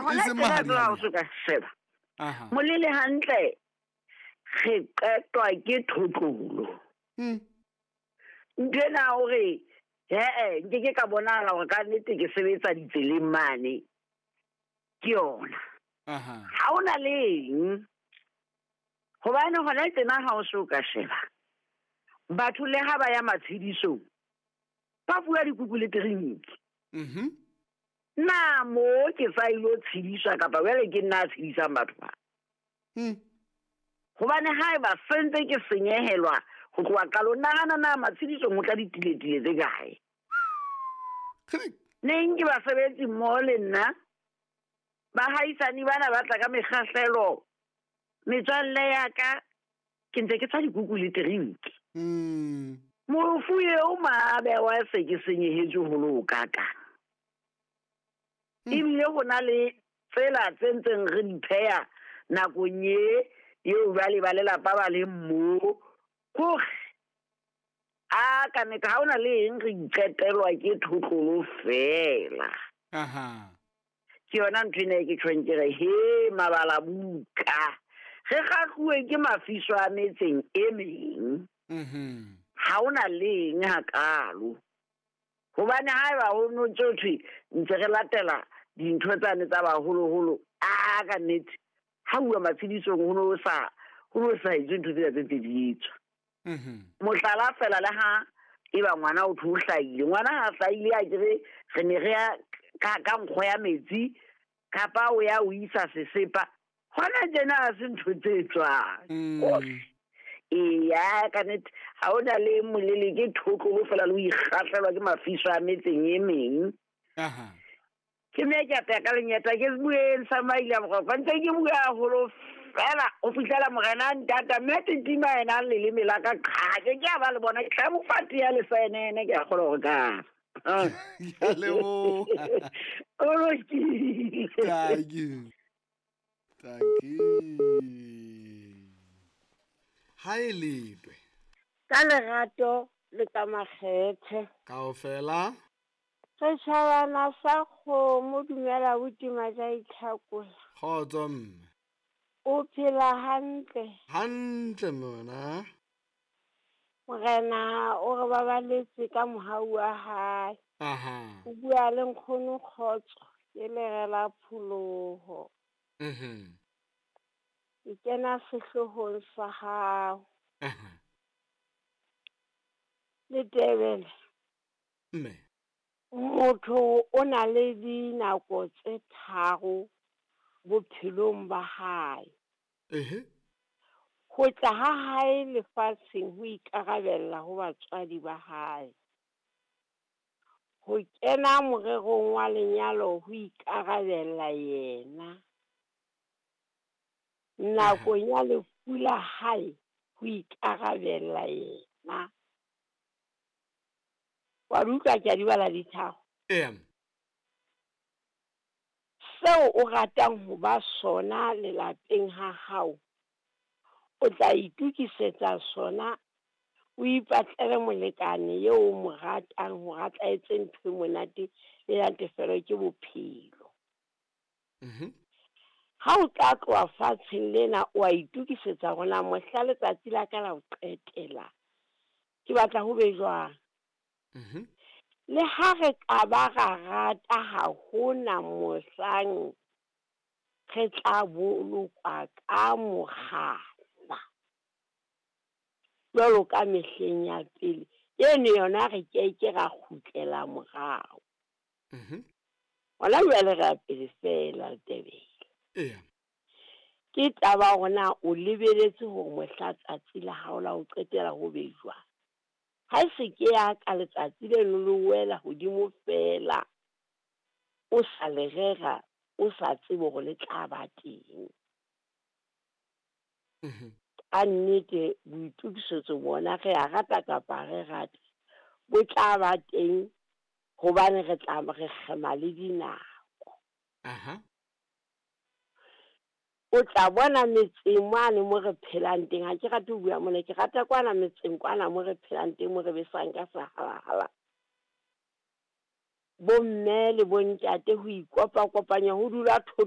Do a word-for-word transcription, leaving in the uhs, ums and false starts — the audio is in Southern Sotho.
Hona tjena jwale ha o so ka sheba. Molele hantle re qetwa ke thotlolo. Mm. Nthwena hore he-e nke ke ka bonahala hore ka nnete ke sebetsa ditseleng mane. Ke yona. Ha hona le eng. Hobane hona tjena ha o so ka sheba. Batho le ha ba ya matshedisong ba bua dikuku le terinki. Mhm. Na mo ke sa ilo tshediswa kapa jwale ke nna a tshedisang batho ba. Mm. Hobane haeba sentse ke senyehelwa ho tloha qalong, nahana na matshedisong ho tla ditiletile tse kae. Neng ke basebetsi mmoho le nna, bahaisane bana ba tla ka mekgahlelo, metswalle ya ka ke ntse ke tswa dikuku le terinki. Mm. Mofu eo maabe wa se ke senyehetswe ho le ho kakang. Ebile ho na le tsela tse ntseng re di pheha nakong e eo jwale ba lelapa ba leng moo. Kore a ka nnete ha hona le eng re iqetelwa ke thotlolo feela. Aha. Ke yona ntho ena e ke tjhong ke re he mabala buka. Re kgahluwe ke mafiso a metseng e meng. Mhm. Ha hona le eng hakalo. Hobane haeba ho no ntso thwe ntse re latela dintho tsane tsa baholoholo, a ka nnete ha uwa matshedisong ho no sa ho no sa etswe ntho tsena tse ntse di etswa. Mhm. Mohlala fela le ha eba ngwana o thwe o hlahile, ngwana ha hlahile a kere re ne re ya ka, ka nkgo ya metsi kapa o ya o isa sesepa. Hona tjena ha se ntho tse etswang. Mm. Eya, ka nnete ha hona le molele ke thotlolo fela le ho ikgahlelwa ke mafiso a metseng e meng. Aha. Ke mme ke apeya ka lenyeta ke bueng sa maila moropa ntse ke bua haholo fela ho fihlela morena a ntata mme titima yena leleme la ka qha ke ke a ba le bona ke tla mo fa tea le saenene ke a kgolwa hore ka. Ke a leboha. O lokile. Thank you. Thank you. Ha e letwe. Ka lerato le ka makgethe. Kaofela. Setjhabana sa kgomo dumela botima ja itlhakola. Kgotso mme. O phela hantle. Hantle mona. Morena o re babaletse ka mohau wa hae. Aha. O bua le nkgono kgotso ke lere la pholoho. Mhm. Ke kena sehloohong sa hao. Aha. Letebele. Mme. Motho o na le dinako tse tharo bophelong ba hae. Ehe. Ho tla ha hae lefatsheng ho ikarabella ho batswadi ba hae. Ho kena morerong wa lenyalo ho ikarabella yena. Nakong ya lefu la hae ho ikarabella yena. Wa di utlwa ke a di bala ditharo? Eya. Seo o ratang ho ba sona lelapeng ha hao, o tla itokisetsa sona, o ipatlele molekane eo o mo ratang hore a tla etse ntho e monate le natefelo ke bophelo. Mhm. Ha o tla tloha fatsheng lena o a itokisetsa hore na mohla letsatsi la ka la ho qetela ke batla ho be jwang. Mhm. Le ha re ka ba ra rata ha hona mohlang re tla bolokwa ka mokgala jwalo ka mehleng ya pele. Eno yona re keke ra kgutlela morao. Mhm. Hona jwale re ya pele fela Letebele. Eya. Ke taba hore na o lebeletse hore mohla tsatsi la hao la ho qetela ho be jwang. Ha e se ke ya ka letsatsi leno le wela hodimo fela, o sa le rera, o sa tsebe hore le tla ba teng. Mhm. Ka nnete boitokisetso bona re a rata kapa re rate, bo tla ba teng hobane re tla re kgema le dinako. Aha. O tla bona metseng mane mo re phelang teng, ha ke rate ho bua mona, ke rata kwana metseng kwana mo re phelang teng mo re besang ka sehalahala. Bomme le bontate ho ikopakopanya ho dula thota